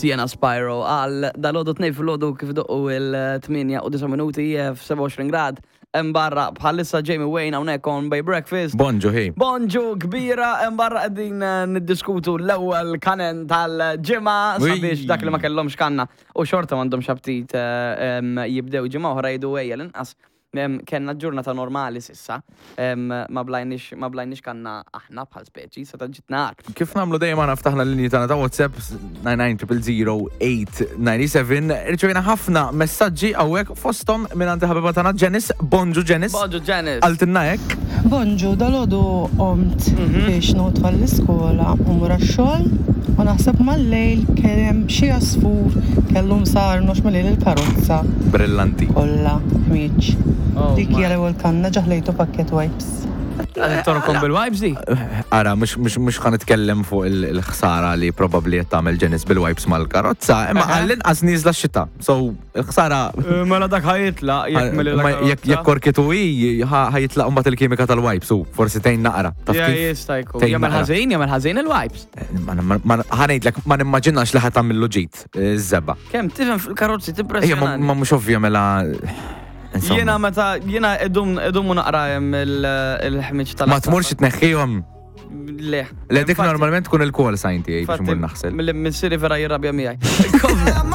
Sienna Spyro għal dal-għodu tnej fil-għodu kif doqqu il-8 u 9 minuti f-27 grad. Hemm barra bħalissa Jamie Wayne hawnhekk on Bay Breakfast. Bonġu ħi. Bonġu kbira hemm barra qegħdin niddiskutu l-ewwel kanen tal-ġimgħa sabiex dak li ma kellhomx kanna u xorta m'għandhomx aptit jibdew ġimgħa oħra jgħidu ejja l-inqas Kellna ġurnata normali s'issa, ma blajniex ma blajniex kanna aħna bħal speċi, seta' ġitna agħar. Kif nagħmlu dejjem aħna ftaħna l-linji tagħna ta' WhatsApp 99000897 irċevejna ħafna messaġġi hawnhekk fosthom mingħand il-ħabiba tagħna Janice. Bonġu Janice. Bonġu Janice. Qaltilna hekk. Bonġu, dalgħodu qomt biex nieħu t-tfal l-iskola u mmur għax-xogħol u naħseb mal-lejl kien hemm xi għasfur kellu msarnu għax melieli l-karozza. Brillanti. Kollha ħmieġ. Dik hija l-ewwel kanna ġa ħlejtu pakkett wipes. Torkom bil-wipes di? Ara, mhux ħa nitkellem fuq il-ħsara li probabbli qed tagħmel Janice bil-wipes mal-karozza, imma għall-inqas nieżla x-xita. So, il-ħsara. Mela dak ħa jitlaq jekk meli l-karozza. Jekk korkitu hi, ħa jitlaq mbagħad il-kimika tal-wipes u forsi tgħin naqra. Taf kif? Jista' jkun. Jagħmel ħażin, jagħmel ħażin il-wipes. Ħa ngħidlek ma nimmaġinax li ħa tagħmillu ġid iż-żebgħa. Kemm tifhem fil-karozzi tippressjonani. Ma mhux ovvja mela. Jiena meta jiena idum idumu naqra hemm il-ħmiġ tal Ma tmurx tneħħihom. Le. Le dik normalment tkun il-call sign tiegħi biex imur naħsel. Mill-missieri vera jirrabja miegħi.